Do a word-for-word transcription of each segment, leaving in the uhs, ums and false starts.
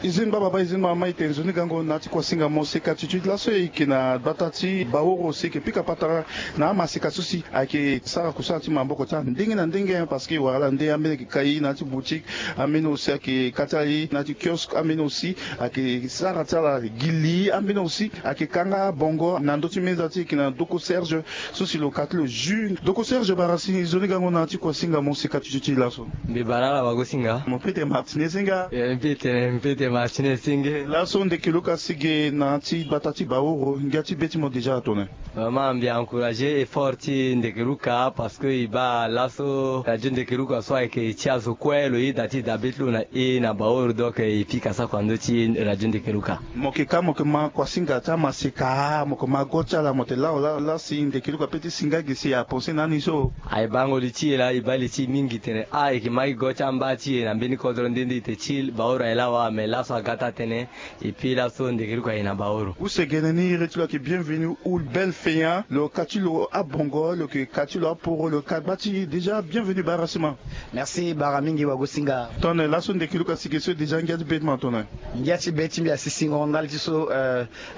Izin baba ba izin mama ite nzoni gango na ti kuasinga mo seka tutuit laso e yeke na gbata ti Baoro si e yeke pika patara na amaseka so si ayeke sara kusala ti maboko ti andenge na ndenge, parce que wala nde ambeni ayeke kai na ya ti boutique, ambeni aussi ayeke ka ti ala ye na ya ti kiosque, ambeni aussi ayeke sara ti ala gi li, ambeni aussi ayeke kanga bongo na ndö ti meza ti e yeke na doko Serge. So si lo ka ti lo jus doko Serge bara si nzoni gango na ya ti kuasinga mo seka tutuit ti laso. Mbi bara ala wagosinga. Mo pete martinez nga. Eh, mbi tene mbi tene martinez senge. Laso ndeke luka si ge na ya ti gbata ti Baoro ngia ti be ti mo déjà atone. Vraiment mbi encourager effort ti ndeke luka parce que e baa laso radio ndeke luka so ayeke ti azo kue lo yeda ti da be ti lo na e na Baoro, donc e pika sako na ndö ti radio ndeke luka. Mo yeke ka mo yeke ma kuasinga ti amaseka, mo yeke ma go ti ala, mo te lao la la si ndeke luka pe ti singa gi si apense na ni so. Aye bango li ti e la e baa li ti e mingi tene a e yeke ma gi go ti amba ti e na mbeni kodro nde nde e te ti Baoro aye lawa mais laso aga ti atene. Et puis laso ndeke luka aye na Baoro. Use gene ni iri ti lo ayeke bienvenu ou belle feya lo ka ti lo abongo lo yeke ka ti lo aporo lo ka gba ti déjà bienvenu bara sima. Merci bara mingi wagosinga. Tone laso ndeke luka si ge so déjà ngia ti be ti mo atone. Ngia ti be ti mbi asi singo ndali ti so.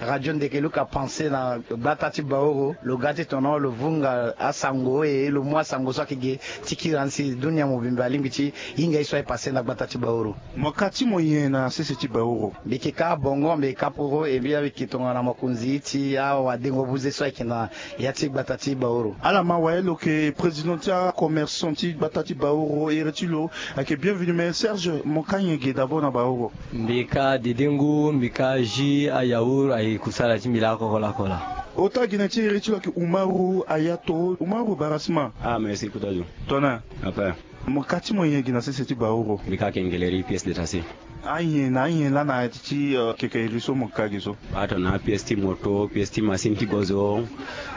Radio ndeke luka pense na gbata ti Baoro lo ga ti tono lo vunga asango e lo mu asango so ayeke ge ti kiri ande si dunia mobimba alingbi ti hinga ye so aye passe na gbata ti Baoro. Mo ka ti mo nyen na sese ti Baoro? Mbi yeke ka bongo mbi yeke ka poro e mbi ayeke tongana mokonzi ti awadengo buze so ayeke na ya ti gbata ti Baoro. Ala ma waye lo yeke président ti acommerçant ti gbata ti Baoro iri ti lo. Ayeke bienvenu mais Serge mo ka nyen ge d'abord na Baoro? Mbi ka dedengu mbi ka jus ayaour aye kusala ti mbi lakoko lakoko la. Ota gene ti iri ti lo ayeke umaru ayato umaru barasima. Ah merci kota zo. Tona. Apa. Mo ka ti mo nyen gi na sese ti Baoro? Mbi ka kengeleri pièce détachée. Ayen na ayen lana ti ti keke iri so mo ka gi so? Ato na apièce ti moto pièce ti masine ti gozo.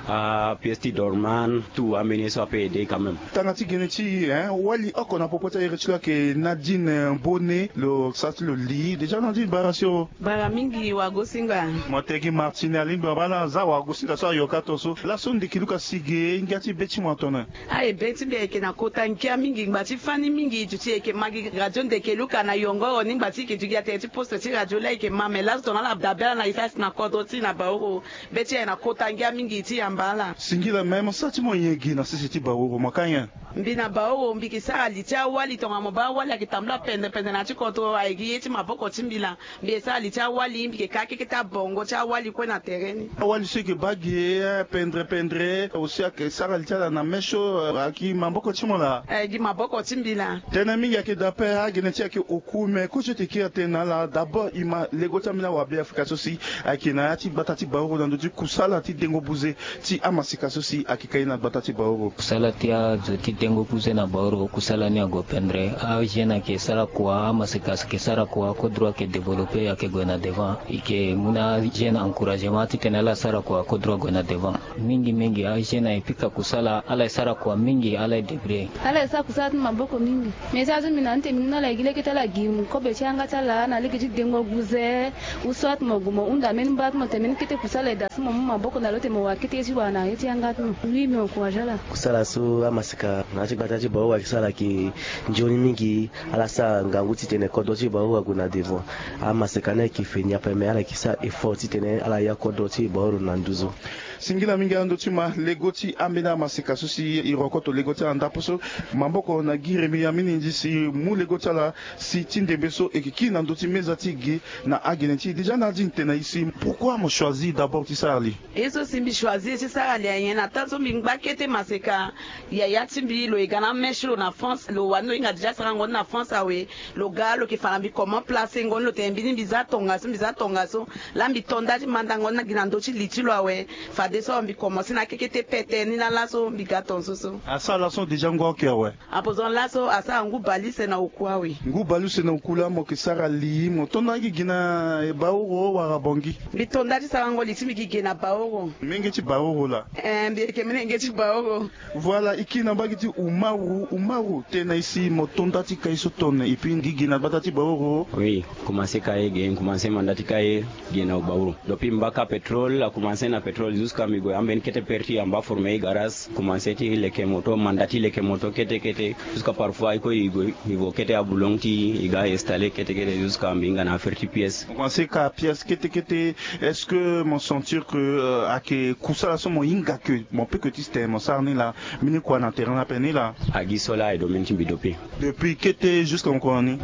Apièce ti dorman tout ambeni ye so ape aide quand même. Tanga ti gene ti e wali oko na popo ti airi ti lo ayeke nadine bone lo sa ti lo li déjà nadine bara si o. Bara mingi wagosinga. Mo te gi martine alingbi ma baa na za wagosinga so ayoka to so laso ndeke luka si ge ngia ti be ti mo atone. Aye be ti mbi ayeke na kota ngia mingi ngba ti fani mingi duti e yeke ma gi radio ndeke luka na yongoro ni ngba ti e yeke duti gi atere ti poste ti radio laa e yeke ma me laso tongana ala dabe ala na e sa si na kodro ti e na baoro. Be ti e aye na kota ngia mingi ti yamba ala. Singila me mo sa ti mo nyen gi na sese ti baoro mo ka nyen? Mbi na baoro mbi yeke sara li ti awali tongana mo baa awali ayeke tambula pendere pendere na ya ti kodro aye gi ye ti maboko ti mbi laa. Mbi yeke sara li ti awali mbi yeke ka keke ti abongo ti awali kue na tere ni. Awali so e yeke baa gi e pendere pendere aussi ayeke sara li ti ala na me so ayeke gi maboko ti mo laa? Ayeke gi maboko ti mbi laa. Tënë mingi ayeke daa ape agene ti e ayeke oku me kozo ti e kiri atene na ala d'abord e ma lego ti ambeni awabe afrika so si ayeke na ya ti gbata ti baoro na ndö ti kusala ti dengo buze ti amaseka so si ayeke ka ye na gbata ti baoro. Kusala ti azo ti dengo buze na baoro kusala ni ague pendere. Ajeune ayeke sara kua amaseka ayeke sara kua kodro ayeke développer ayeke gue na devant e yeke mu na ajeune encouragement titene ala sara kua kodro ague na devant. Mingi mingi ajeune aye pika kusala ala ye sara kua mingi ala ye débrouiller. Ala ye sara kusala ti maboko mingi. Mais ti azo mbi na ni tene mbi mu na ala ye gi lege ti ala gi kobe ti yanga ti ala na lege ti dengo guze. Ou soit mo gue mo hunda mbeni mba ti mo tene mbeni kete kusala e daa si mo mu maboko na lo ti mo wara kete ye ti wara na ye ti yanga ti mo. Oui mbi encourage ala. Kusala so amaseka na ya ti gbata ti baoro ayeke sara ayeke nzoni mingi. Ala sara ngangu titene kodro ti baoro ague na devant. Amaseka ni ayeke feni ape me ala yeke sara effort titene ala ya kodro ti baoro na nduzu. Singila mingi ando ti ma lego ti ambeni amaseka so si e rokoto lego ti ala ndapo so maboko na gi remi ya minindi si mu lego ti ala si ti ndembe so e yeke kiri na ndö ti meza ti e ge. Na agene ti e déjà na adi ni tene na e si pourquoi mo choisir d'abord ti sara li? Ye so si mbi choisir ti sara li ayen na temps so mbi ngba kete maseka. Yaya ti mbi lo ye ga na ame ti lo na france lo wani lo hinga déjà sarango ni na france awe. Lo ga lo yeke fa na mbi comment place ngo ni lo tene mbi ni mbi za tongaso mbi za tongaso. Laa mbi to nda ti mandango ni gi na ndö ti li ti lo awe. Fadeso mbi komanse na akekete pete ni laa laso mbi ga tongaso so. Asara laso déjà ngu ake awe. Apo zo laso asara ngu bale use na oku awe. Ngu bale use na oku laa mo yeke sara li mo to nda gi gi na baoro wala bongi? Mbi to nda ti sarango li ti mbi gi gi na baoro. Menge ti baoro laa? Ee mbi yeke menge ti baoro. Voilà e kiri na mbage ti umaru umaru tene na e si mo to nda ti kai so tone et puis gi gi na gbata ti baoro. Oui. Komanse kai ge komanse manda ti kai. Gi na baoro. Dopi mbaka pétrole akomanse na pétrole. Ka mbi gue ambeni kete pere ti amba forme i garage, commence ti leke moto, manda ti leke moto kete kete. Jusqu'à parfois i kue i gue i vo kete abulong ti i ga installe kete kete jusqu'à mbi hinga na affaire ti pièce. Mo commence ka pièce kete kete. Est-ce que mo sentir que ayeke kusala so mo hinga ke mo pe ke ti tene mo sara ni laa? Mbeni kua na terrain ni ape ni laa? Agi so laa aye domaine ti mbi dopi. Depuis kete jusqu'à mo kua na ni?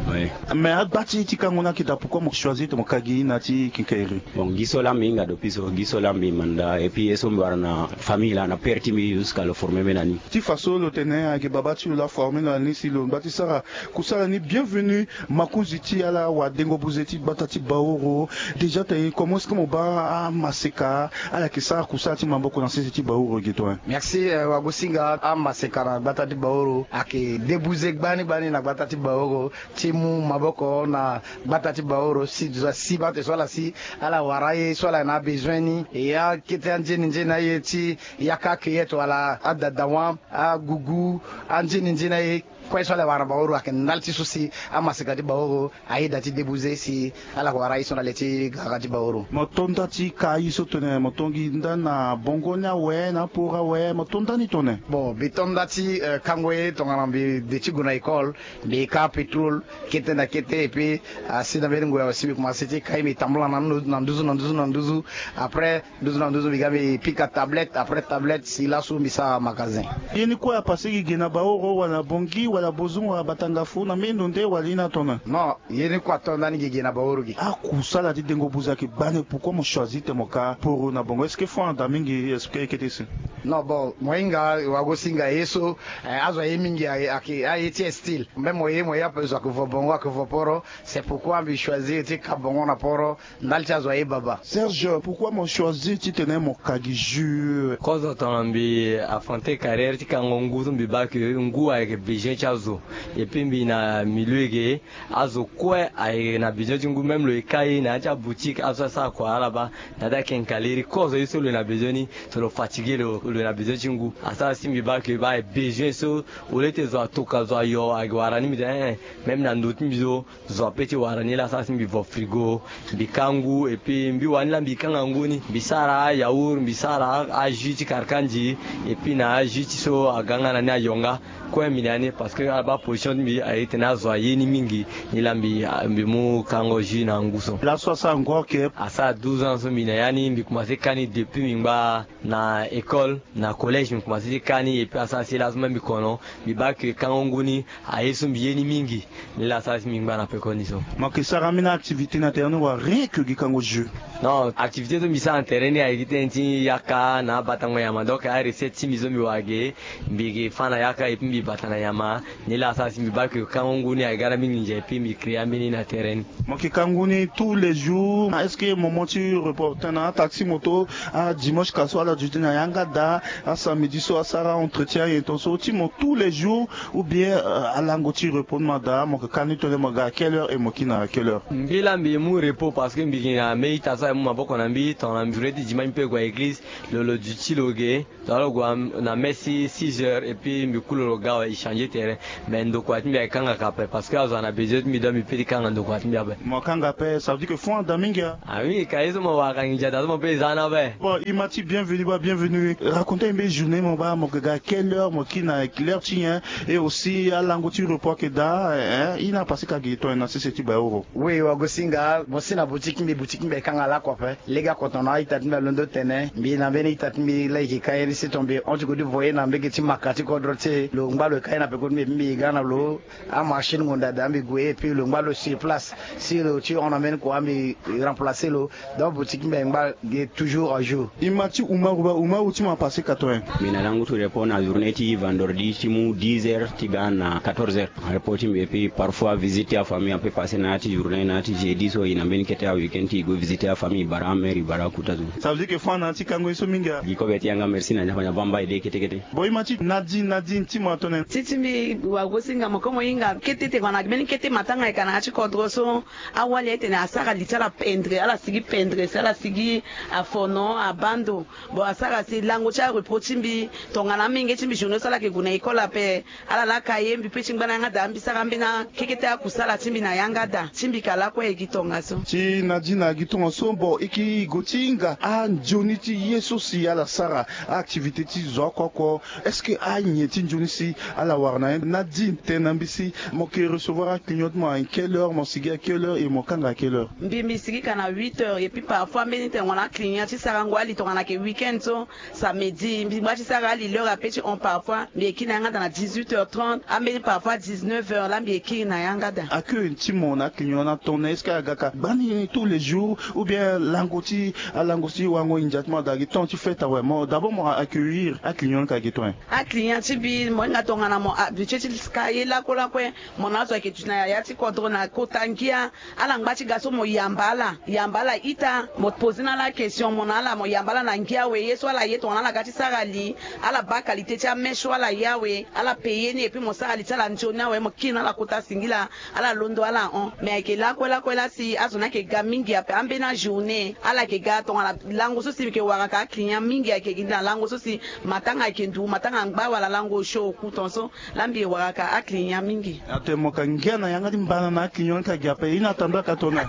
Mais agba ti ti kango ni ayeke daa, pourquoi mo choisir tene mo ka gi na ti quincaillerie? Bon, gi so laa mbi hinga dopi so, gi so laa mbi manda, et puis ye so mbi wara na famille laa na pere ti mbi jusqu'à lo forme mbi na ni. Ti fa so lo tene ayeke baba ti lo laa forme lo na ni si lo ngba ti sara kusala ni. Bienvenu. Makonzi ti ala wadengo buze ti gbata ti Baoro. Déjà tene comment est-ce que mo baa amaseka ala yeke sara kusala ti maboko na sese ti Baoro ge to? Merci. Wagosinga, amaseka na gbata ti Baoro ayeke de buze gbani gbani na gbata ti Baoro ti mu maboko na gbata ti Baoro si zo asi bate so ala si ala wara aye so ala na abezoin ni. E akete anzeni nzeni aye ti yaka cueillette wala adadawan, agugu, anzeni nzeni aye kue so ala wara na Baoro ayeke ndali ti so si amaseka ti Baoro ayeda ti debuze si ala yeke wara aye so na le ti gara ti Baoro. Mo to nda ti ka aye so tone mo to gi nda na bongo ni awe na aporo awe, mo to nda ni tone? Bon, mbi to nda ti kango ye tongana mbi de ti gue na école, mbi ka pétrole kete na kete, et puis asi na mbeni ngoi awe si mbi commence ti ka ye mbi tambula na nduzu na nduzu na nduzu. Après nduzu na nduzu mbi ga mbi pika tablette, après tablette si laso mbi sara magasin. Ye ni kue apase gi ge na Baoro wala Bongi wala Bozungu wala Batangafu na mbeni ndo nde wala ye ni atona? Non, ye ni kue ato ndani gi ge na Baoro gi. Akusala ti dengo buze ayeke bani, pourquoi mo choisir tene mo ka poro na bongo? Est-ce que fond ada mingi expliquer kete si? Non, bon, mo hinga wagosinga ye so azo aye mingi ayeke aye ti style. Même mo ye mo ye ape zo ayeke vo bongo ayeke vo poro. C'est pourquoi mbi choisir ti ka bongo na poro ndali ti azo aye baba. Serge, pourquoi mo choisir titene mo ka gi jus? Kozo tongana mbi affronter carrière ti kango ngu so mbi baa ke ngu ayeke besoin ti azo. Et puis mbi na milieu ge azo kue ayeke na besoin ti ngu, même lo ye ka ye na ya ti aboutique azo asara kua ala baa na ya ti akenkaleri. Kozo ye so lo na besoin ni so lo fatiguer lo, lo na besoin ti ngu. Asara si mbi baa ke baa besoin so au lieu ti zo atoka zo ayo ayeke wara ni mbi tene eh eh. Même na ndo ti mbi so zo ape ti wara ni laa asara si mbi vo frigo, mbi ka ngu, et puis mbi wani laa mbi kanga ngu ni, mbi sara yaourt, mbi sara ajus ti karkanzi, et puis na ajus ti so aga nga na ni ayo nga. Kue mbi na ya ni parce que ala baa position ti mbi aye tene azo aye ni mingi. Ni laa mbi mbi mu kango jus na ngu so. Laso asara ngu ake? Asara douze ans so mbi na ya ni, mbi commence ka ni depuis mbi ngba na école, na collège mbi commence ti ka ni, et puis asara si laso même mbi kono, mbi baa ke kango ngu ni aye so mbi ye ni mingi. Ni laa asara si mbi ngba na pekoni so. Mo yeke sara ambeni activité na terrain ni wala rien que gi kango jus? Non, activité so mbi sara na terrain ni ayeke ti tënë ti yaka na abatango nyama, donc arecette ti mbi so mbi wara ge, mbi yeke fâ na yaka et puis mbi bata na nyama. Ni laa asara si mbi baa ke kango ngu ni ayeke ga na mbeni nginza et puis mbi créer ambeni na terrain ni. Mo yeke ka ngu ni tous les jours? Est-ce que mo mo ti repos tënë na ataxi moto, adimanche ka so ala duti na yanga daa, asamedi so asara entretien aye tongaso ti mo tous les jours? Ou bien alango ti repos ni ma daa, mo yeke ka ni tone mo ga à quelle heure et mo kiri na quelle heure? Mbi laa mbi mu repos parce que mbi yeke na mbeni ita so aye mu maboko na mbi tongana mbi journée ti dimanche mbi pe gue na église. Lo lo duti lo ge. Tongana lo gue na messe ti six heures et puis mbi ku lo lo ga awe, e changer terrain. Mais ndokua ti mbi ayeke kanga ka ape parce que azo ana besoin ti mbi donc mbi pe ti kanga ndokua ti mbi ape. Mo kanga ape, ça veut dire que fond ada mingi a? Ah oui, ka ye so mo wara ka nginza daa so mo pe e za ni ape. Bon, e ma ti bienvenu baa, bienvenu. Raconter mbi journée mo baa, mo yeke ga quelle heure, mo kiri na l'heure ti nyen? Et aussi alango ti repos ayeke daa, hein, e na pase ka gi tongana na sese ti Baoro. Oui, wagosinga, mo si na boutique ti mbi, boutique ti mbi ayeke kanga lakue ape. Lege oko tongana a-ita ti mbi alondo tene, mbi na mbeni ita ti mbi laa e yeke ka ye ni si tongana mbi hon ti gue ti vo ye na mbege ti maka ti kodro ti e, lo ngba lo e ka ye na peko ti mbi, mbi ga na lo amachine ngonda daa mbi gue ye, et puis lo ngba lo sur place si lo ti hon na mbeni kua mbi remplacer lo. Donc boutique ti mbi ayeke ngba ge toujours à jour. E ma ti Umaru baa, Umaru ti mo apase ka tongana nyen? Mbi na lango ti repos na journée ti vendredi ti mu dix heures ti ga na quatorze heures. Repos ti mbi et puis parfois visite ti afamille ape passer na ya ti journée na ya ti jeudi so e na mbeni kete aweek-end ti e gue visiter afamille, e bara amere, e bara akuta so. Ça veut dire que fond na ya ti kango ye so mingi a? Gi kobe ti yanga, merci na nzapa na bamba e de kete kete. Bon, e ma ti Nadine, Nadine ti mo atone? Ti ti mbi Wagosinga mo komo hinga kete tengana mbeni kete matanga eka na ya ti kodro so. Awali aye tene asara li ti ala pendre, ala sigi pendre si ala sigi afono abando. Bon, asara si lango ti arepos ti mbi tongana amenge ti mbi journée so ala yeke gue na école ape. Ala laka ye mbi pe ti ngba na yanga daa mbi sara ambeni akekete akusala ti mbi na yanga daa ti mbi ka lakue e gi tongaso. Ti na di na gi tongaso bon e ke go ti hinga anzoni ti ye so si ala sara activité ti zo oko oko. Est-ce que anyen ti nzoni si ala wara na ye na di tene na mbi si mo ke recevoir aclient ti mo à quelle heure, mo sigi à quelle heure et mo kanga à quelle heure? Mbi mbi sigi ka na huit heures et puis parfois mbeni tene mo na aclient ti sarango ali tongana ke week-end so samedi mbi ngba ti sara ali l'heure ape ti hon parfois mbi ekiri na yanga daa na dix-huit heures trente ambeni parfois dix-neuf heures la mbi ekiri na yanga daa. Accueil ti mo na aclient na tongana est-ce que aga ka gbani tous les jours ou bien lango ti alango si wango india ti mo ada gi temps ti fête awe mo d'abord mo accueillir aclient ka gi temps? Aclient ti mbi mo hinga tongana mo habitué ti ka ye lakue lakue. Mo na azo ayeke duti na yaya ti kodro na kota ngia. Ala ngba ti ga so mo yamba ala yamba ala ita mo pose na ala question mo na ala mo yamba ala na ngia awe ye so ala ye tongana ala ga ti sara li. Ala baa qualité ti ame so ala ye awe ala paye ni epui mo sara li ti ala nzoni awe mo kiri na ala kota singila. Ala londo ala hon mais ayeke lakue lakue laa si azo ni ayeke ga mingi ape ambeni ajournée ala yeke ga tongana lango so si mbi yeke wara ka aclient mingi ayeke gi na lango so si matanga ayeke ndu matanga angba wala lango osio oku tonso. Laa mbi wara ka aclient mingi. Ate mo ka ngia na yanga ti mbana na aclient ka gi ape ina tanda ka tona.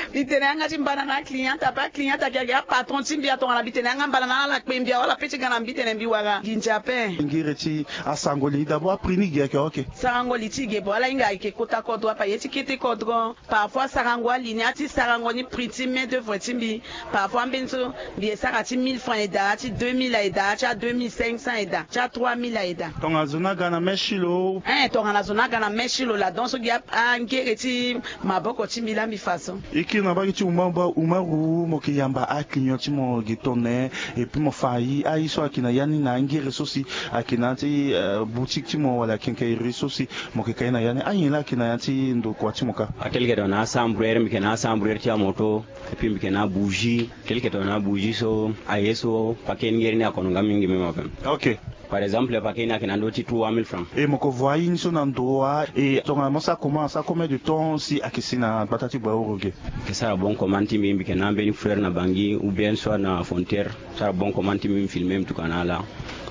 Mbi tene yanga ti mbana na aclient ape aclient ayeke gi apatron ti mbi atongana mbi tene yanga mbana na ala kpe mbi awala pe ti ga na mbi tene mbi wara gi ndia ape. Ngiri ti asango li d'abord apri ni gi ayeke oke. Sarango li ti ge bon ala hinga ayeke kota kodro apa ye ti kete kodro. Parfois sarango ali ni ati sarango ni prix ti main d'oeuvre ti mbi. Parfois ambeni so mbi esara ti mille francs eda ti deux mille eda ti a deux mille cinq cents eda ti a trois mille eda. Tongana zo ni aga na mèche lo. Ein tongana zo ni aga na mèche lo la donc so gi angere ti maboko ti mbi la mbi fa so. E kiri na mbage ti uma ba uma ru mo yeke yamba aclient ti mo gi tone. Epui mo fa aye so ayeke na ya ni na angere so si ayeke na ya ti boutique ti mo wala quincaillerie so si mo yeke ka ye na ya ni anyen laa ayeke na ya ti ndokua ti mo kâ. Ake li yeke tonga na asambrere mbi yeke na asambrere ti amoto. Epui mbi yeke na abougie ake li yeke tonga na abougie so aye so pake ni ngeri ni akono nga mingi même ape. Ok. Par exemple pake ni ayeke na ndö ti trois mille francs. E mo ko voi aye ni so na ndo wa e tongana mo sara comment asara combien de temps si ayeke si na gbata ti bua oro ge? Mbi yeke sara bon commande ti mbi mbi yeke na ambeni frère na bangi ou bien soit na frontière. Sara bon commande ti mbi mbi filme mbi tuka na ala.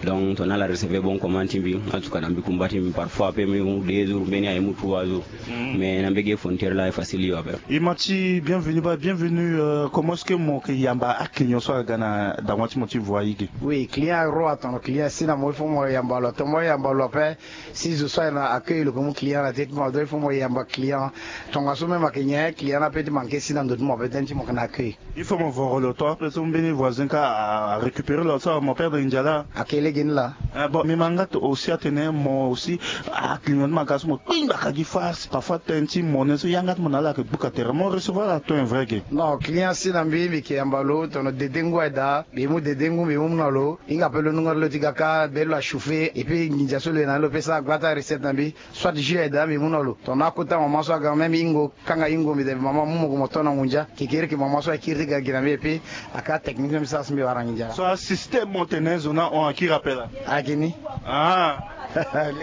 Donc tongana ala recevait bon commande ti mbi ala tuka na mbi kumba ti mbi parfois ape mbi mu deux jours mbeni aye mu trois jours. Mais na mbege frontière la e facile yo ape. E ma ti bienvenu ba bienvenu. Comment est-ce que mo yeke yamba aclient so aga na dangua ti mo ti voie ge? Oui client ro atono client si na mo il faut mo yamba lo atomo yamba lo ape. Si zo so ayeke na accueil lo yeke mu client na te ti mo donc il faut mo yamba client. Tongaso même ayeke nyen client ni ape ti manke si na ndo ti mo ape tënë ti mo yeke na accueil. Il faut mo voro lo to ape so mbeni voisin kâ arécupérer lo so mo perdre ndia laa. Ayeke lege ni laa. Bon mbi ma nga aussi atene mo aussi aclient ti mo aga so mo kpingbaka gi face parfois tënë ti monnaie so yanga ti mo na ala ayeke gbuka tere mo recevoir ato un vrai ge. Non client si na mbi mbi yeke yamba lo tono dede ngu aye daa mbi mu dede ngu mbi mu mu na lo. Hinga ape lo nunga ti lo ti ga kâ be lo achauffer epui nginza so lo ye na ni lo pe sara gba ti arecette na mbi. Soit jus aye daa mbi mu na lo tongana akota mama so aga même hingo kanga hingo mbi da mbi mama mu mo gue mo to na ngu ndia kekereke mama so akiri ti ga gi na mbi epui aka technique so mbi sara so mbi wara na ngi ndia. So asystème mo tene zo ni ahon akiri ape laa. Ayeke ni.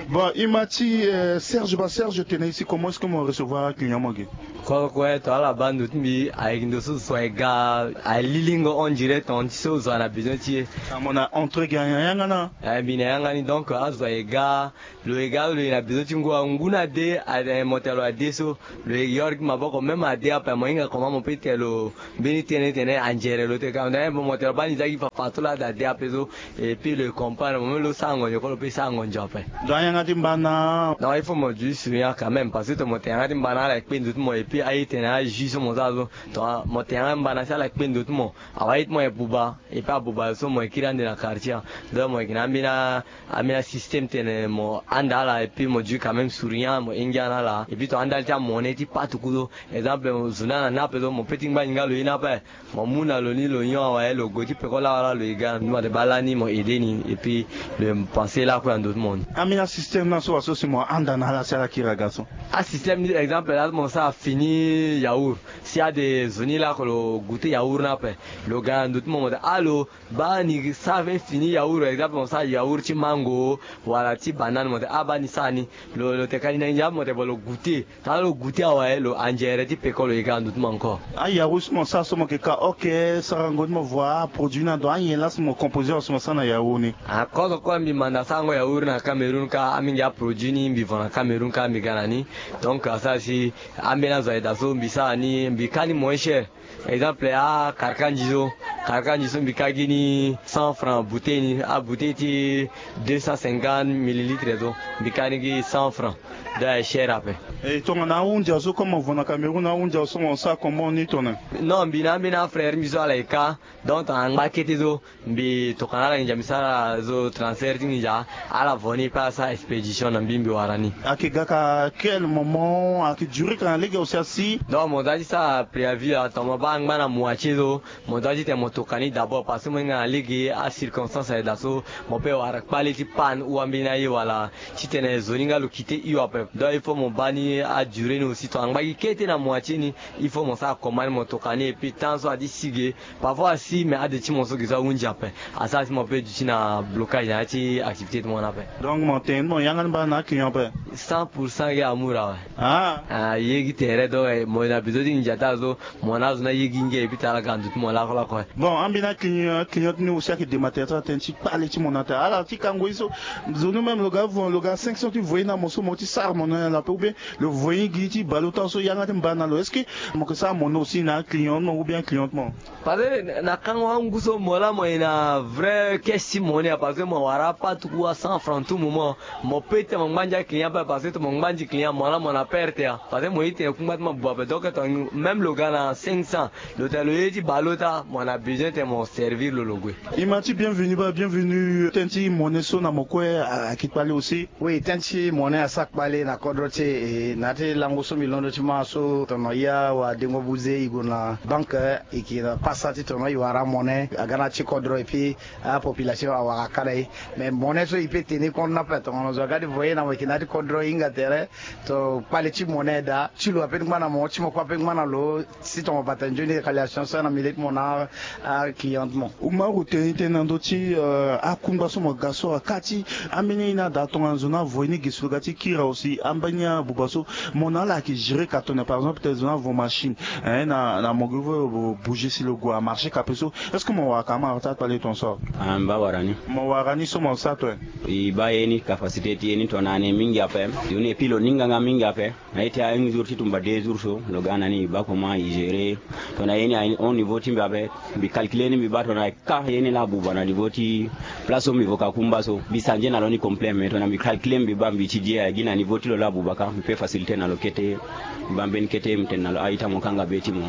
Bon e ma ti serge ba serge tene isi comment est-ce que mo recevoir aclient mo ge? Kue kue to ala baa ndo ti mbi ayeke ndo so zo aye ga. Alilingo on dirait ton ti so zo aye na besoin ti e. Mo na entre ge ayanga na. Mbi na yanga ni donc azo aye ga. Lo ye ga lo ye na besoin ti ngu awe ngu na de. Mo tene lo ade so lo ye yoro gi maboko même ade ape mo hinga comment mo pe tene lo. Mbeni tënë tene anzere lo te ka mo tene mo tene lo baa ni za gi fafa so laa ade ape so. Epui lo ye comprendre mo même lo sara ngonzo kue lo pe sara ngonzo ape. Donc ayanga ti mbana. Donc il faut mo du souriant quand même parce que to mo tene yanga ti mbana ala ye kpe ndo ti mo epui aye tene aji so mo sara so. Donc mo tene yanga ti mbana si ala ye kpe ndo ti mo. Awa aye ti mo ye buba epui abuba so mo ye kiri ande na quartier. Donc mo yeke na ambeni ambeni asystème tene mo handa ala epui mo du quand même souriant mo hingia na ala epui to handa ala ti amonnaie ti patuku so. Exemple zo ni ala na ape so mo pe ti ngba ni nga lo ye ni ape. Mo mu na lo ni lo nyon awe lo gue ti peko lawa laa lo ye ga na nduma te baa lani mo aide ni epui lo ye pense lakue na ndo ti mo ni. Ambeni asystème ni aso aso si mo handa na ala si ala kiri aga so. Asystème ni exemple laa so mo sara fini. ni yaourt. Si ade zo ni lako lo goûter yaourt ni ape, lo ga na ndo ti mo mo te, ah, lo baa ni sara fini yaourt, exemple mo sara yaourt ti mango wala ti banane mo te, ah, baa ni sara ni. Lo, lo tene ka ni na ndia mo te, bon, lo goûter. Tara lo goûter awe, lo andiere ti peko lo yeke na ndo ti mo encore. Ayaru so mo sara so mo yeke ka oke sarango ti mo voie aproduit ni ando anyen laa so mo composer awe so mo sara na yaru ni? Akozo kue mbi manda sarango yaru na Cameroun kâ, amingi aproduit ni mbi vo na Cameroun kâ mbi ga na ni. Donc asara si ambeni azo ayeda so mbi sara ni, mbi ka ni moins cher. Exemple, akarkanzi so, karkanzi so mbi ka gi ni cent francs bouteille ni, abouteille ti deux cent cinquante millilitres so mbi ka ni gi cent francs. Donc aye cher ape. E tongana ahunzi azo comme mo vo na Cameroun, ahunzi azo so mo sara comment ni tongana? Non, mbi na ambeni afrère mbi so ala ye ka. Donc tongana angba kete so, mbi tokana ala nginza mbi sara zo transfert ti nginza, ala vo ni pe asara expédition na mbi, mbi wara ni. Ayeke ga ka quel moment? Ayeke durer ka na lege aussi asi? Donc mo za ti sara préavis awe, tongana mo baa angba na moitié so, mo za ti tene mo toka ni d'abord, parce que mo hinga na lege acirconstance ayeda so, mo peut wara kpale ti panne ou ambeni aye wala ti tene zo ni nga lo quitter hio ape. Donc il faut mo baa ni adurer ni aussi, tongana angba gi kete na moitié ni, il faut mo sara commande mo toka ni, et puis temps so adi si ge. Parfois asi me ade ti mo so gi so ahunzi ape, asara si mo peut duti na blocage na ya ti activité ti mo ni ape. Donc mo tene ti mo yanga ni mbana na aclient ape? Cent pour cent gi amour awe. Ah, ye gi tere, donc mo na besoin ti nginza ti ala so, mo na azo ni aye gi nge, et puis tara ga na ndo ti mo lakolako. Bon, ambeni aclient, client ni aussi ayeke dématerialiser tënë ti kpale ti mo na tere ala ti kango ye so. Zo ni même lo ga vo, lo ga cinq cents ti voyer na mo so mo ti sara mo na ala ape, ou bien lo voyer gi ti baleota so yanga ti mbana na lo. Est-ce que mo yeke sara mo na aussi na aclient ti mo ou bien client ti mo? Parce que na kango angu so mo laa mo ye na vrai caisse ti mo ni a, parce que mo wara apatuku a cent francs tout moment. Mo peut ti tene mo ngba ndia client ape, parce que tene mo ngba ndia client mo laa mo na perte a, parce que mo ye ti tene kungba ti mo abuba ape. Donc tene même lo ga na cinq cents, lo tene lo ye ti baleota, mo na besoin ti tene mo servir lo lo gue. Imam ti bienvenu baa, bienvenu. Tënë ti monnaie so na mo kue ayeke kpale aussi? Oui, tënë ti monnaie asara kpale na kodro ti e. Na ya ti lango so mbi londo ti ma so, tono ya wa dengo buze e gue na banque, e yeke na pasa ti tono e wara monnaie aga na ya ti kodro, et puis apopulation awara ka na e. Mais monnaie so e peut tenir compte ni ape, tongana zo aga ti voyer na mo, e yeke na ya ti kodro e hinga tere. To kpale ti monnaie daa, ti lo ape ti ngba na mo, ti mo kue ape ti ngba na lo. Si tongana mo bata nzoni réalisation so na milieu ti mo na aclient ti mo. Umaru tene tënë na ndö ti, euh, akungba so mo ga so, aka ti ambeni aye ni ada tongana zo ni avo ye ni ge si lo ga ti kiri aussi, ambeni abuba so mo na ala ayeke gérer ka tongana, par exemple tene zo ni avo machine, eh, na, na mo ge vo lo bouger si lo gue amarché ka ape so, est-ce que mo wara ka amara ti akpale tongana so? Ah, mbi baa wara ni. Mo wara ni so mo sara tongana? E baa ye ni, capacité ti ye ni tongana ane mingi ape. Yo ni et puis lo ninga nga mingi ape. Na ye ti a un jour ti tumba deux jours so, lo ga na ni, e baa comment e gérer. Tongana ye ni a haut niveau ti mbi ape, mbi calculer ni, mbi baa tongana e ka ye ni laa abuba na niveau ti place so mbi vo ka kumba so, mbi sanze na lo ni complet. Mais tongana mbi calculer, mbi baa mbi étudier, a gi na niveau ti lo laa abuba ka, mbi peut faciliter na lo kete. Mbi baa mbeni kete mbi tene na lo, a-ita, mo kanga be ti mo.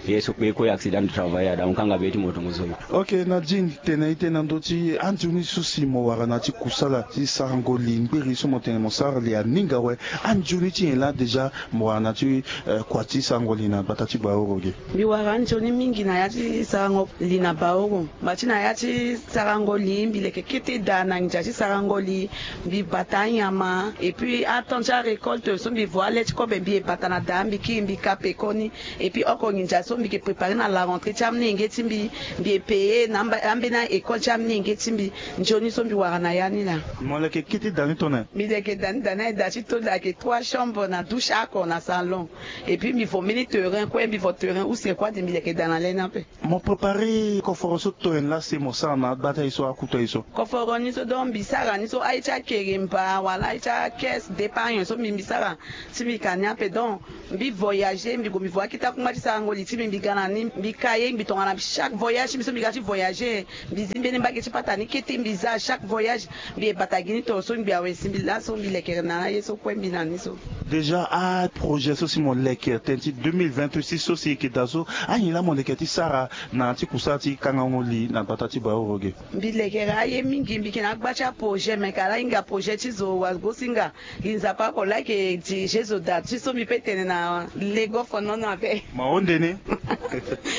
Ye so kpe kue accident de travail ada, mo kanga be ti mo tongaso. Ok, Nadine, tene ite na ndö ti anzoni so si mo wara na ya ti kusala ti sarango li, ngbiri so mo tene mo sara li aninga awe. Anzoni ti nyen laa déjà mo wara na ya ti, eh, kua ti sarango li na gbata ti Baoro ge? Mbi wara anzoni mingi na ya ti sarango li na Baoro. Mba ti na ya ti sarango li, mbi leke kete daa na nginza ti sarango li. Mbi bata anyama, et puis atemps ti arécolte so mbi vo ale ti kobe, mbi ye bata na daa, mbi kiri, mbi ka pekoni. Et puis oko nginza so mbi yeke préparer na la rentrée ti amolenge ti mbi, mbi ye payer na amba, ambeni a-école ti amolenge ti mbi. Nzoni so mbi wara na ya ni laa. Mo leke kete daa ni tongana? Mbi leke daa ni, daa ni aye daa ti to, daa ayeke trois chambres na douche oko na salon. Et puis mbi vo mbeni terrain kue, mbi vo terrain use kue, ade mbi leke daa na le ni ape. Mo préparer koforo so tongana laa si mo sara na agbata ye so, akuta ye so? Koforo ni so, donc mbi sara ni so, aye ti akeremba wala aye ti acaisse d'épargne so mbi, mbi sara. Si mbi ka ni ape, donc mbi voyager, mbi gue mbi vo akete akungba ti sarango li ti mbi, mbi ga na ni, mbi ka ye, mbi tongana chaque voyage ti mbi so mbi ga ti voyager, mbi zi mbeni mbage ti patani kete mbi za chaque voyage. Mbi ye bata gi ni tongaso, mbi awe si mbi laso, mbi lekere na ye so kue mbi na ni so. Déjà aprojet so si mo leke tënë ti deux mille vingt-six so si e yeke daa so, anyen laa mo leke ti sara na ya ti kusala ti kangango li na gbata ti Baoro ge? Mbi lekere aye mingi, mbi yeke na agba ti aprojet, me ka laa hinga projet ti zo wagosinga. Gi Nzapa oko laa ayeke dirige zo daa ti so mbi peut tene na lego fonono ape. Mo ahonde ni?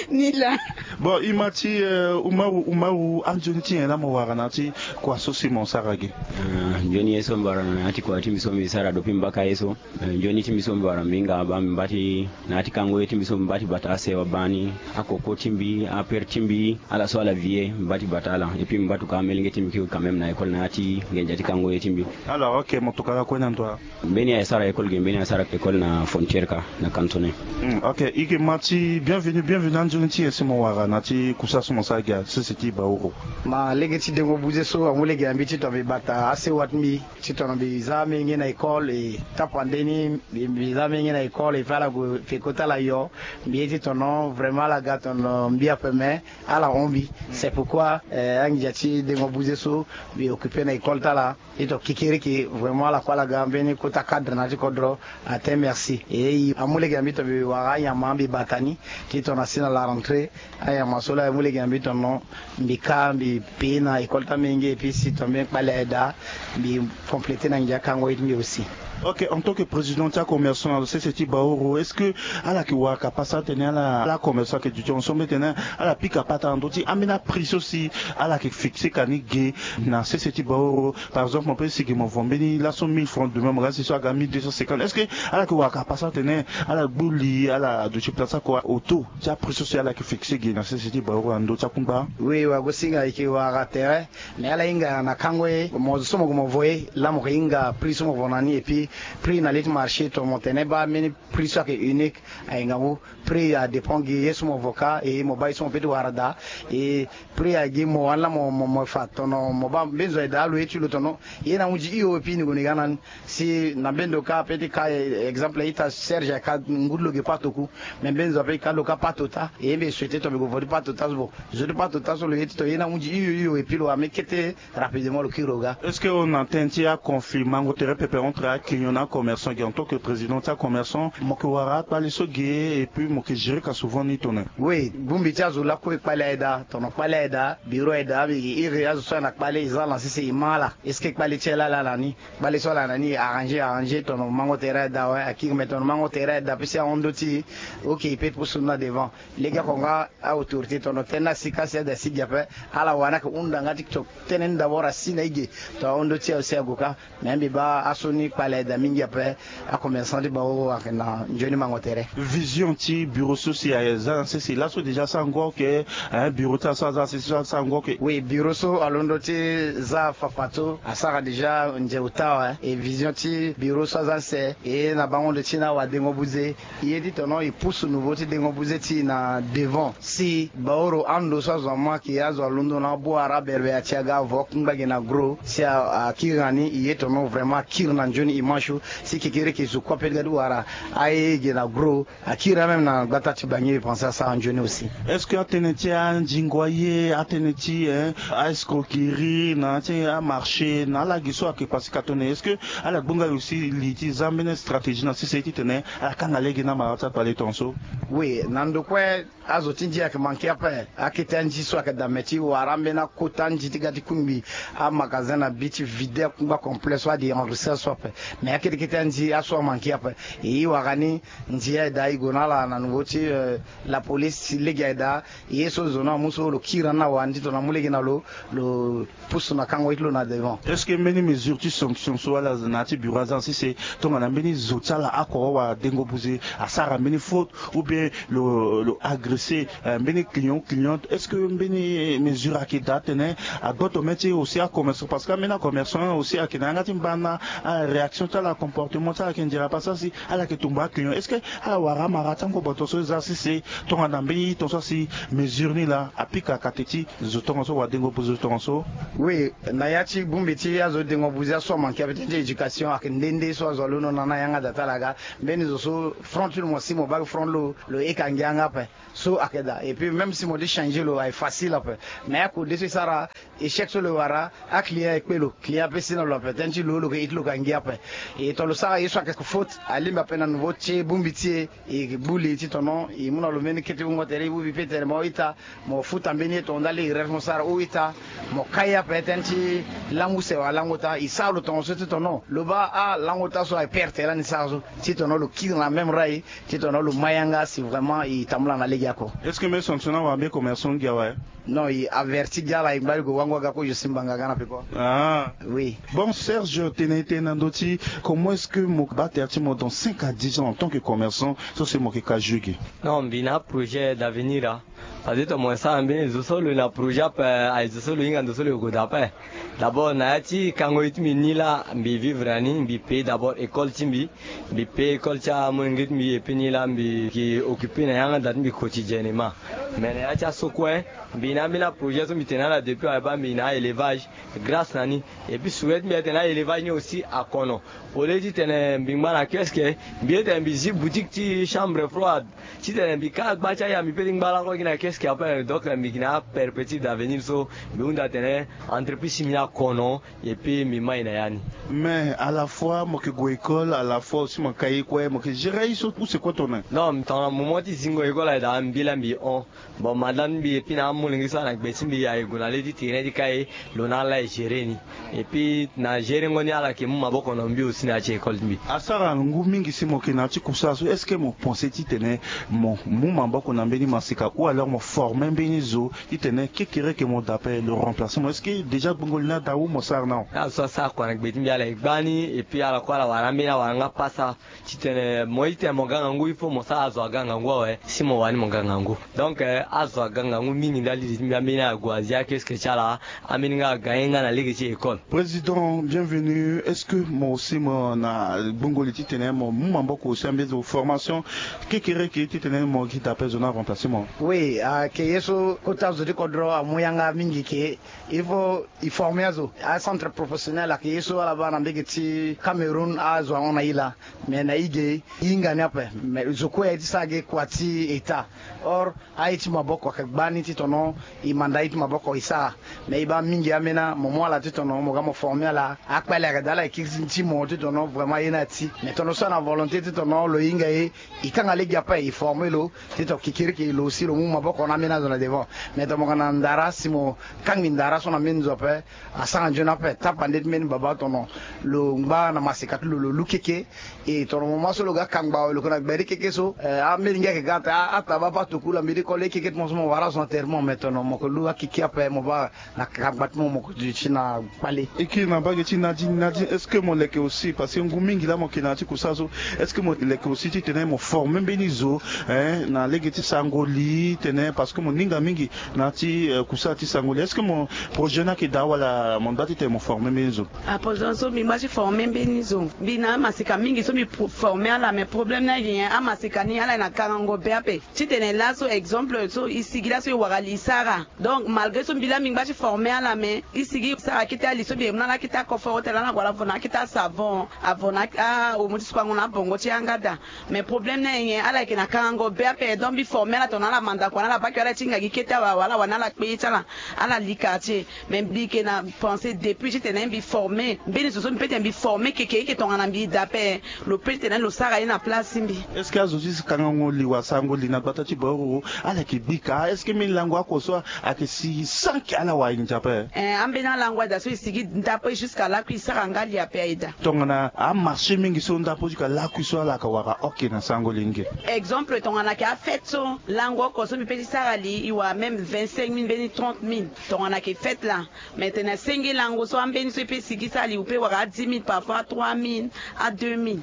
Ni laa. Bon, ima ti, eh, Umaru, Umaru, anzoni ti nyen laa mo wara na ya ti kua so si mo sara ge? Ah, nzoni ye so mbi wara na ya ti kua ti mbi so mbi sara dopi mbi baka ye so. Eh, nzoni ti mbi so mbi wara mbi hinga baa mbi mba ti na ya ti kango ye ti mbi so mbi mba ti bata asewa baa ni, akoko ti mbi, apere ti mbi, ala so ala vie mbi mba ti bata ala. Et puis mbi mba tuka amelenge ti mbi kiri quand même na école na ya ti ngenja ti kango ye ti mbi. Alors, ok, mo tuka lakue na ndo? Mbeni aye sara école ge, mbeni aye sara école na frontière ka, na cantonais. Hmm, ok, i ke ma ti bienvenu, bienvenu, anzoni ti nyen si mo wara na ya ti kusa so mo sara ge na sese ti Baoro? Ma lege ti dengo buze so amu lege na mbi ti tongana mbi bata asewa ti mbi ti tongana mbi za amenge na école, e tapande ni mbi, mbi za amenge na école, e fa ala gue fe kota ala yo. Mbi ye ti tongana vraiment ala ga tongana mbi ape me ala hon mbi. C'est pourquoi, eh, anginza ti dengo buze so mbi occupe na école ti ala. Ti tongana kekereke vraiment ala kue ala ga mbeni kota cadre na ya ti kodro. Ate merci. E i amu lege na mbi tongana mbi wara anyama mbi bata ni ti tongana si na la rentrée, anyama so laa e mu lege na mbi tongana mbi ka mbi paye na école ti amenge, et puis si tongana mbi kpale aye daa mbi compléter na nginza kango ye ti mbi aussi. Ok, en tant que président ti acommerçant na sese ti Baoro, est-ce que ala yeke wara ka pasa atene ala, ala commerçant ayeke duti ensemble tene ala pika pata na ndö ti ambeni aprix so si ala yeke fixer ka ni ge na sese ti Baoro? Par exemple, mo peut si ge mo vo mbeni laso mille francs, demain mo ga si so aga mille deux cent cinquante. Est-ce que ala yeke wara ka pasa atene ala gbu li, ala duti place oko, auto ti aprix so si ala yeke fixer ge na sese ti Baoro na ndö ti akungba? Oui, wagosinga, e yeke wara tere. Mais ala hinga na kango ye, mo zo so mo gue mo vo ye laa mo yeke hinga prix so mo vo na ni, et puis prix na li ti marché tongana mo tene baa mbeni prix so ayeke unique, aye ngangu. Prix adépend gi ye so mo vo ka, e mo baa ye so mo peut ti wara daa. E prix agi mo wani laa mo, mo, mo fa tongana mo baa mbeni zo aye daa lo ye ti lo tongana ye na hunzi hio, et puis ni gue ni ga na ni. Si na mbeni ndo ka peut ti ka, eh, exemple ita Serge ayeke ka ngu ti lo ge pato ku. Mais mbeni zo ape e ka lo ka pato ota. E mbi e souhaiter tongana mbi gue vo ti pato ota so, bon, zo ti pato ota so lo ye ti tongana ye na hunzi hio hio, et puis lo wara mbeni kete rapidement lo kiri lo ga. Est-ce que on entend ti aconflit mango tere pepe entre aclient na acommerçant ge? En tant que président ti acommerçant, mo yeke wara akpale so ge, et puis mo yeke gérer ka souvent ni tongana? Oui, bongbi ti azo lakue e kpale aye daa, tongana kpale aye daa, bureau aye daa, mbi yeke iri azo so ayeke na kpale, e za ala na sese, e ma ala. Est-ce que kpale ti ala laa ala na ni? Kpale so ala na ni, arranger, arranger, tongana mango tere aye daa, ouais, akiri, mais tongana mango tere aye daa, pe si ahon ndö ti, ok, e peut ti pusu ni na devant. Lege oko nga a-autorité tongana tene na si ka si ada si ge ape, ala wani ayeke hunda nga ti to tene ni d'abord asi na e ge. Tongana ahon ndö ti aye aussi ague ka. Mais mbi baa aso ni kpale aye daa mingi ape. Acommerçant ti Baoro ayeke na nzoni mango tere. Vision ti bureau so si aza na sese laso déjà asango oke, hein, bureau ti aso aza na sese so asango oke. Oui, bureau so alondo ti za fafato asara déjà nze ota, hein. E vision ti bureau so aza na sese, e na bango ndo ti na awadengo buze, e ye ti tongana e pusu nouveau ti dengo buze ti e na devant. Si Baoro ando so azo amu ayeke azo alondo na abu ara berbea ti aga avo akungba ge na gros. Si a, akiri na ni, e ye tongana vraiment akiri na nzoni image so. Si kekereke zo kue ape ti ga ti wara aye ge na gros. Akiri amême na gbata ti Bangi, mbi pense asara nzoni aussi. Est-ce que atënë ti andingo aye, atënë ti, hein, a-escroquerie na ya ti amarché na ala ge so ayeke passé ka tongana nyen? Est-ce que ala gbonga aussi li ti za mbeni stratégie na sese ti tene ala kanga lege na mara ti akpale tongaso? Oui, na ndo kue azo ti ndia ayeke manqué ape. Akete anzi so ayeke daa me ti wara ambeni akota anzi ti ga ti kungbi amagasin na bi ti vide akungba complet so adi enregistré so ape. Mais akete kete anzi aso amanqué ape. E wara ni nzi aye daa e gue na ala na niveau ti, euh, la police ti lege aye daa. Ye so zo ni amu so lo kiri na ni na wani ti tongana amu lege na lo, lo pusu na kango ye ti lo na devant. Est-ce que mbeni mesure ti sanction so ala na ya ti bureau aza na sese tongana mbeni zo ti ala oko wala dengo buze asara mbeni faute ou bien lo, lo agresser, euh, mbeni client ou cliente, est-ce que mbeni mesure ayeke daa tene agboto mê ti aussi acommerçant? Parce que ambeni acommerçant aussi ayeke na yanga ti mba na, ah, réaction ti ala, comportement ti ala ayeke nzere pasa si ala yeke tumba aclient. Est-ce que ala wara amara ti angboboto so e za sese tongana mbeni tongaso asi mesure ni laa apika kate ti zo tongaso wala dengo buze zo tongaso? Oui, na ya ti bongbi ti azo dengo buze aso amanqué ape ti éducation ayeke nde nde so azo alondo na na yanga daa ti ala ga. Mbeni zo so front ti lo mo si mo baa front lo, lo heka ngia yanga ape. So ayeke daa. Et puis même si mo ti changer lo aye facile ape. Mais akode so e sara échec so lo wara, aclient e kpe lo, client ape si na lo ape, tënë ti lo lo yeke hit lo ka ngia ape. E tongana lo sara ye so ayeke faute, alingbi ape na nouveau ti bongbi ti e, e gbu li titene e mu na lo mbeni kete wungo tere, e bongbi peut-être mo ita, mo futa mbeni ye tongana ndali e ref mo sara ou ita, mo kai ape tënë ti langu se wala langu ota. E sara lo tongaso titene lo baa alangu ota so aye perte lani sara so titene lo kiri na même rai, titene lo ma yanga si vraiment e tambula na lege oko. Est-ce que mbeni sanction ni awara mbeni commerçant gi awe? Non, e averti gi ala, e ngba li gue wango aga ko, je simbanga aga na peko. Ah. Oui. Bon, Serge, tene e tene na ndö ti comment est-ce que mo baa tere ti mo dans cinq à dix ans en tant que commerçant, so si mo yeke ka jeu gi? Non, mbi na aprojet d'avenir, ah. Parce que tongana mo sara mbeni zo so lo na projet ape, aye zo so lo hinga ndo so lo yeke gue daa ape. D'abord na ya ti kango ye ti mbi ni laa mbi vivre na ni, mbi paye d'abord école ti mbi. Mbi paye école ti amolenge ti mbi, et puis ni laa mbi yeke occuper na yanga da ti mbi quotidiennement. Mais na ya ti aso kue, mbi na ambeni aprojet so mbi tene na ala depuis awe baa, mbi na aélevage. Grâce na ni, et puis souhait ti mbi atene aélevage ni aussi akono. Au lieu titene mbi ngba na kiosque, mbi ye tene mbi zi boutique ti chambre froide. Titene mbi ka gba ti aya, mbi peut ti ngba lango gi na kiosque ape. Donc mbi gi na aperspective d'avenir so mbi hunda tene entreprise ti mbi ni akono, et puis mbi mai na ya ni. Mais à la fois mo yeke gue école, à la fois aussi mo ka ye kue, mo yeke gérer ye so, ou c'est quoi ton nom? Non, tongana moment ti zingo école aye daa, mbi laa mbi hon. Bon, madame ti mbi et puis na amolenge so ayeke na gbe ti mbi, aye gue na le ti terrain ti kai, lo na ala e gérer ni. Et puis na gérer ngo ni ala yeke mu maboko na mbi aussi na ya ti école ti mbi. Asara ngu mingi si mo yeke na ya ti kusala so, est-ce que mo pense titene mo mu maboko na mbeni maseka ou alors mo former mbeni zo titene kekereke mo daa ape lo remplacer mo? Est-ce que déjà gbongo li ni ada ou mo sara na? Azo so asara kua na gbe ti mbi ala e gba ni, et puis ala kue ala wara ambeni awara nga pasa. Titene mo ye titene mo ga ngangu, il faut mo sara azo aga ngangu awe si mo wani mo ga ngangu. Donc eh, azo aga ngangu mingi ndali ti mbi, ambeni ague azia kiosque ti ala, ambeni nga aga ye nga na lege ti école. Président, bienvenue. Est-ce que mo aussi mo na gbongo li titene mo mu maboko aussi ambeni zo formation kekereke titene mo gi daa ape zo ni aremplacer mo? Oui, ayeke ye so kota zo ti kodro amu yanga mingi ke il faut e former azo. Acentre professionnel ayeke ye so ala baa na mbege ti Cameroun, azo ahon na e laa. Mais na e ge e hinga ni ape. Mais zo kue aye ti sara ge kua ti État. Or aye ti maboko ayeke gbani titene e manda aye ti maboko e sara. Mais e baa mingi ambeni mo mu ala titene mo ga mo former ala. Akpale ayeke daa ala e kiri ti mo titene vraiment aye ni ati. Mais tongana so ana volonté titene lo hinga ye, e kanga lege ape e former lo titene kekereke lo aussi lo mu maboko na ambeni azo na devant. Mais tongana mo ga na ndara si mo kangbi ndara so na mbeni zo ape, asara nzoni ape. Tapande ti mbeni baba tongana lo ngba na maseka ti lo, lo lu keke. E tongana moment so lo ga kangba awe lo yeke na gberi keke so, eh, ambeni ngia ayeke ga ate a, ataba ape atuku laa mbi ti koli keke ti mo so mo wara azo na terre mo. Mais tongana mo yeke lu akeke ape mo baa na kangba ti mo mo yeke duti na kpale. E kiri na mbage ti Nadine. Nadine, est-ce que mo leke aussi, parce que ngu mingi laa mo yeke na ya ti kusala so, est-ce que mo leke aussi titene mo former mbeni zo, hein, na lege ti sango li tene, parce que mo ninga mingi na ya ti, euh, kusala ti sango li? Est-ce que mo projet ni ayeke daa wala mo ngba titene mo former mbeni zo? Aprojet so mbi ngba ti former mbeni zo. Mbi na amaseka mingi so mbi pro-, former ala, mais problème ni ayeke nyen? Amaseka ni ala yeke na kangango be ape. Titene laso exemple so e sigi laso e wara li e sara. Donc malgré so mbi laa mbi ngba ti former ala, mais e sigi e sara akete ali so mbi yeke mu na ala akete akoforo tene ala wara avo na akete asavon, avo na a-, aomo ti supango na abongo ti yanga daa. Mais problème ni aye nyen? Ala yeke na kangango be ape. Donc mbi former ala tongana ala manda kua na ala bake, ala ti hinga gi kete awe, wala wani ala kpe ye ti ala, ala li quartier. Mais mbi yeke na pensée depuis titene mbi former mbeni zo so mbi peut titene mbi former keke, eke tongana mbi daa ape, lo peut titene lo sara ye na place ti mbi. Est-ce que azo ti kangango li wala sango li na gbata ti Baoro ala yeke bika? Est-ce que mbeni lango oko so ayeke si sans que ala wara nginza ape? Eh, ambeni alango aye daa so e sigi ndapo e jusqu'à lakui e sara nga li ape aye daa. Tongana amarché mingi so ndapo jusqu'à lakui so ala yeke wara oke na sango li nge? Exemple tongana ayeke afête so lango oko so mbi peut ti sara li e wara même vingt-cinq mille mbeni trente mille. Tongana ayeke fête laa. Mais tene senge lango so ambeni so e peut sigi sara li, ou peut wara a dix mille, parfois a trois mille, a deux mille.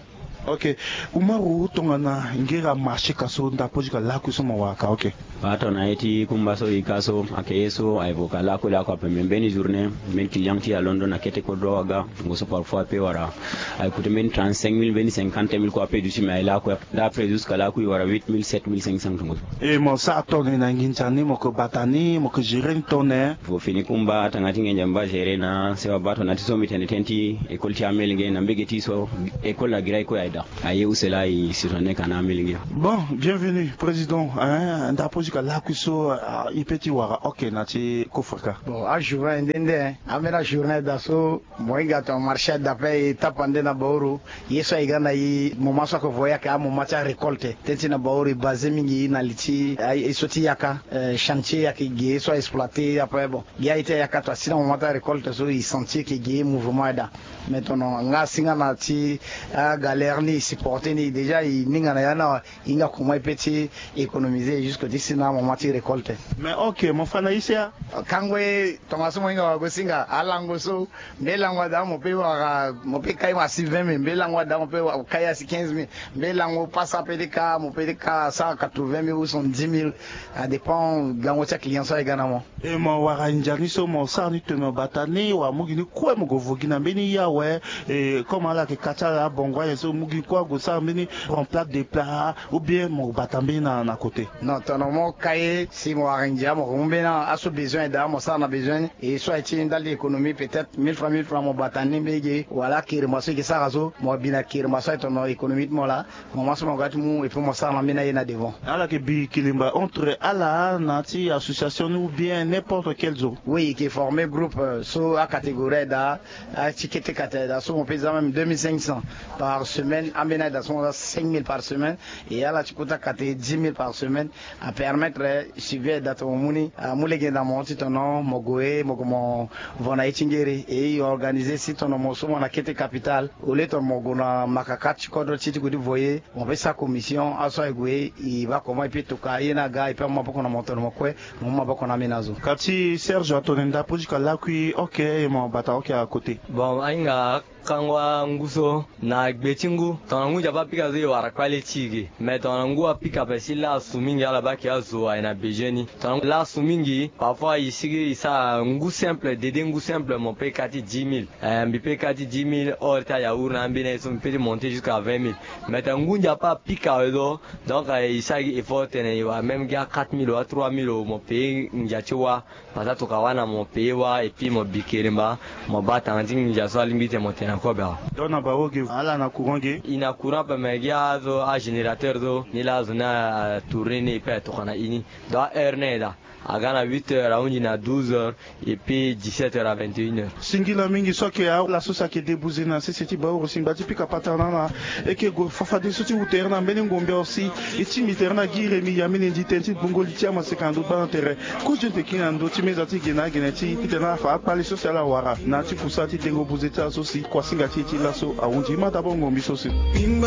Ok. Umaru, tongana ngera marché ka so ndapo ti ka lakui so mo wara ka, ok. Baa tongana ye ti kumba so e ka so ayeke ye so a évoquer lakui lakui ape, mais mbeni journée mbeni client ti e alondo na kete kodro awaga. Ngo so parfois a peut wara a écouter mbeni trente-cinq mille, mbeni cinquante mille kue a peut duti, mais a ye lakui. D'après jusqu'à lakui e wara huit mille, sept mille cinq cents tongo so. E mo sara tongana na nginza ni mo yeke bata ni, mo yeke gérer ni tongana? Vo fini kumba tanga ti nginza mbi baa gérer na sewa baa tongana ti so mbi tene tënë ti école ti amolenge na mbege ti so école na gira e kue aye. Aye use laa e si tongana ni ka na amilenge. Bon, bienvenue président, hein, ndapo ti ka lakui so, ah, e pe ti wara oke na ti kofreka. Bon, ajourne nde nde, hein, ambeni ajourne daa so mo hinga tongana marché daa ape e tapa nde na baoro. Ye so aye ga na e moment so ake voye ayeke amoment ti arécolte. Teti na baoro e basé mingi na li ti aye so ti yaka, eh, chantier ayeke ge so a exploité ape. Bon, gi aye ti ayaka tongana si na moment ti arécolte so e sentir ke ge mouvement aye daa. Mais tongana nga si nga na ti agalère ni e supporté ni déjà, e ninga na ya na e hinga comment e pe ti économiser jusque ti si na moment ti récolte. Mais ok, mo fa na ise ya. Kango e, tongaso mo hinga wago singa alango so, mbe lango ada mo pe wara, mo pe kai mo asi vingt mille, mbe lango ada mo pe wa- kai asi quinze mille, mbe lango pasa pe ti ka mo pe ti ka sara quatre-vingt mille ou soixante-dix mille. A dépend gango ti aclient so aye ga na mo. E mo wara ndia ni so mo sara ni tene mo bata ni wala mo gi ni kue mo gue vo gi na mbeni ye awe? E comme ala yeke ka ti ala abongo aye so mo gi ni kue ague sara mbeni remplace de plat ou bien mo bata mbeni na, na côté? Non, tongana mo ka ye si mo wara ndia mo mu mbeni aso besoin daa mo sara na besoin ni. E so aye ti ndali économie peut-être mille francs, mille francs mo bata ni mbeni ge wala keremba so e ke sara so mo bi na keremba so aye tongana économie ti mo laa. Mo ma so mo ga ti mu et puis mo sara na mbeni aye na devant. Ala yeke bi kilimba entre ala na ti association ni ou bien n'importe quel zo? Oui, e ke former groupe, euh, so acatégorie aye daa, aye ti kete kate aye daa so mo pe za même deux mille cinq cents par semaine, ambeni aye daa so mo za cinq mille par semaine. E ala ti kota kate dix mille par semaine. Apermettre suivi aye daa tongana mo mu ni, amu lege na mo ti tongana mo gue mo gue mo vo na ye ti ngere. E e organiser si tongana mo so mo na kete capital, au lieu tongana mo gue na makaka ti kodro ti ti gue ti voye, mo pe sara commission aso aye gue e baa comment e pe toka ye ni aga e pe amu maboko na mo tongana mo kue mo mu maboko na ambeni azo. Ka ti Serge atone ndapo ti ka lakui oke e mo bata oke à côté. Bon, ahinga kango angu so na gbe ti ngu tongana ngu ndia pe apika so e wara kpale ti e ge. Mais tongana ngu apika ape si lasu mingi ala baa ke azo aye na besoin ni. Tongana lasu mingi parfois e sigi e sara ngu simple dede ngu simple mo pe ka ti dix mille. Eh, mbi pe ka ti dix mille hors ti ayaour na ambeni aye so mbi pe ti monter jusqu'à vingt mille. Mais tongana ngu ndia pe apika awe so, donc eh, e sara gi effort tene e wara même gi a quatre mille ou a trois mille o mo paye ngia ti wâ. Parce que atoka wâ na mo paye wâ et puis mo bi keremba, mo baa tanga ti nginza so alingbi ti tene mo tene na kobe awe. Donc na bawo ge ala na courant ge? E na courant ape mais gi azo agénérateur so ni laa azo ni atourner ni e pe atoka na e ni. Donc aheure ni aye daa aga na huit heures ahunzi na douze heures et puis dix-sept heures à vingt et une heures. Singila mingi so ayeke ala so si ayeke débouze na sese ti baoro si ngba ti pika patara na ala. E yeke gue fafadeso ti wu tere na mbeni ngombe awe si e tingbi tere na gi remi ya mbeni ndi tënë ti gbongo li ti amaseka na ndo gbaa na tere. Kozo ete kiri na ndö ti meza ti gene agene ti titene ala fa akpale so si ala wara na ya ti kusala ti dengo buze ti ala so si kuasinga ti e ti laso ahunzi. E ma d'abord ngombe so si.